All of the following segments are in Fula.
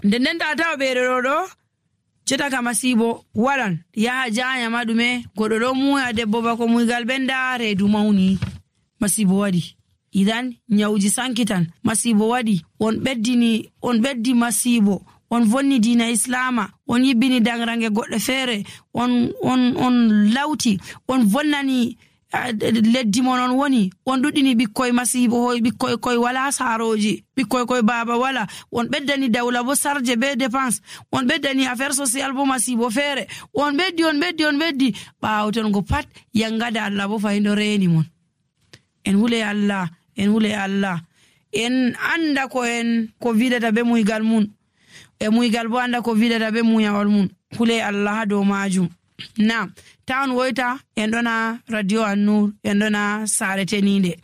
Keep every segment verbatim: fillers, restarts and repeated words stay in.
Nden nden ta tawa ɓeeɗo ɗo ɗo cetaka masiibo waɗan yaha jayama ɗume goɗɗo ɗo muuya debbo bako muygal ɓenda reedu mawni. Masiibo waɗi. Idan, ñawuji sankitan. Masiibo waɗi. On ɓeddini on ɓeddi masiibo. On vonni diina islaama. On yibbini daŋraŋge goɗɗe feere. On on on lawti. On vonnani leddi mon on woni. On ɗuɗɗini ɓikkoy masiibo hoy ɓikkoy koy wala saarooji, ɓikkoy koy baaba wala. On ɓeddani dawla bo sarje be dépense. On ɓeddani affaire social bo masiibo feere. On ɓeddi on ɓeddi on ɓeddi. Ɓaawo ton go pat yangada allah bo fayindo reeni mon. En hule allah. En hule allah. En anda ko en ko vidata be muygal mun. E muygal bo anda ko vidata be muyawol mun. Hule allah ha dow majum. Na ta on woyta. En ɗona radio annur. En ɗona saare teninde.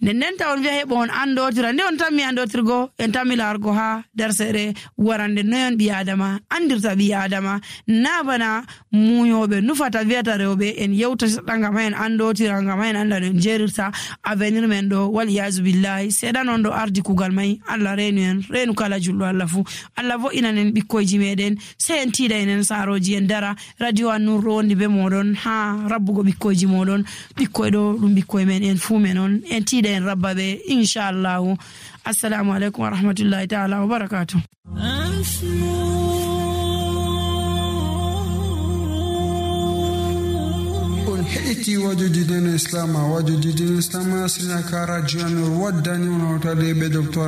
Nden nden ta on wiya heɓo on andotira nde on tammi andotirgo en tammi largo ha darseɗe warande noyon ɓi adama andirta ɓi adama. Na bana muyoɓe nufata wiyata rewɓe en yewta seɗɗa ngam ha en andotira ngam ha en anda no en jerirta avenir men ɗo wal iyasu billahi seɗan on ɗo ardi kugal mai allah renu en renu kala julɗo allah fuu. Allah vo'inan en ɓikkoyji meɗen. Sey en tiida enen saroji en dara. Radio annur ɗo wondi be moɗon ha rabbugo ɓikkoyji moɗon. Ɓikkoy ɗo ɗum ɓikkoy men en fuu men on en tiida en rabba ɓe. Inchallahu. Assalamu aleykum wa rahmatullahi taala wa barakatuh. On heɗiti wajoji dina islam wajoji dina islam asrina ka radio annur waddani on hawtade ɓe docteur